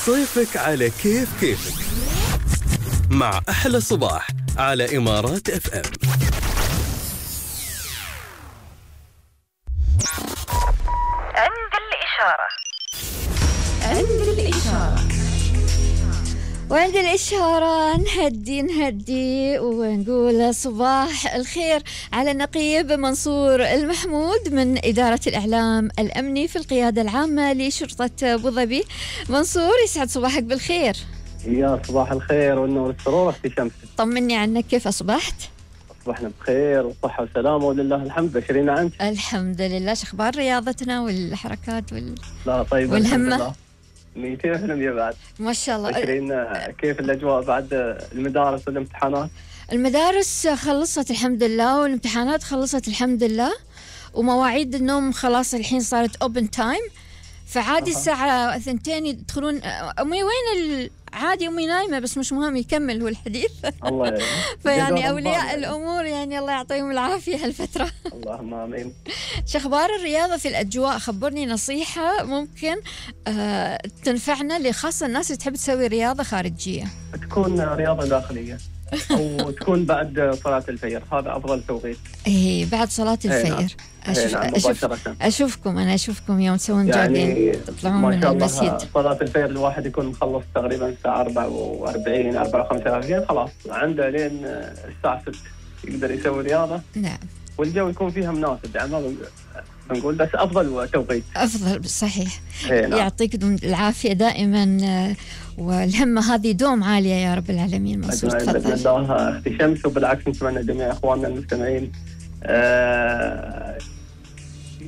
صيفك على كيفك مع أحلى صباح على إمارات اف ام. عند الإشارة وعند الإشارة نهدي ونقول صباح الخير على النقيب منصور المحمود من إدارة الإعلام الأمني في القيادة العامة لشرطة أبو ظبي. منصور يسعد صباحك بالخير. يا صباح الخير والنور والسرور أختي شمس. طمني عنك، كيف أصبحت؟ أصبحنا بخير وصحة وسلامة ولله الحمد. بشرينا أنت. الحمد لله. شو أخبار رياضتنا والحركات لا طيب والهمة؟ 200% يا بعد ما شاء الله. بشرينا كيف الأجواء بعد المدارس والامتحانات؟ المدارس خلصت الحمد لله والامتحانات خلصت الحمد لله ومواعيد النوم خلاص الحين صارت open time، فعادي الساعة 2 يدخلون. أمي وين عادي أمي نايمة بس مش مهم، يكمل هو الحديث. الله فيعني أولياء الأمور يعني الله يعطيهم العافية هالفترة. اللهم آمين. شو أخبار الرياضة في الأجواء؟ خبرني نصيحة ممكن تنفعنا لخاصة الناس اللي تحب تسوي رياضة خارجية. تكون رياضة داخلية أو تكون بعد صلاة الفجر، هذا أفضل توقيت. إيه بعد صلاة الفجر. أشوفكم يوم تسوون يعني تطلعون من المسجد. صلاة الفجر الواحد يكون مخلص تقريبا الساعة 44 54 خلاص عنده لين الساعة 6 يقدر يسوي رياضة. نعم. والجو يكون فيها مناسب، يعني بنقول بس أفضل توقيت. أفضل صحيح. يعطيك العافية دائما، والهمة هذه دوم عالية يا رب العالمين. منصور تفضل. بإذن الله أختي شمس، وبالعكس نتمنى جميع إخواننا المستمعين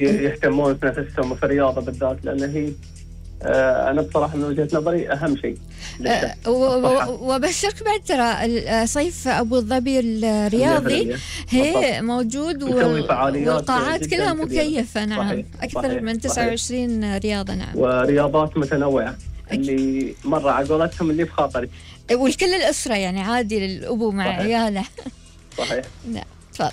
يهتمون في نفسهم وفي الرياضة بالذات، لأن هي أنا بصراحة من وجهة نظري أهم شيء. وبشرك بعد ترى صيف أبو ظبي الرياضي هي موجود والقاعات كلها مكيفة. نعم صحيح. أكثر من 29 رياضة. نعم ورياضات متنوعة اللي مرة على قولتهم اللي في خاطري، والكل الأسرة يعني عادي للأبو مع عياله. صحيح. نعم تفضل.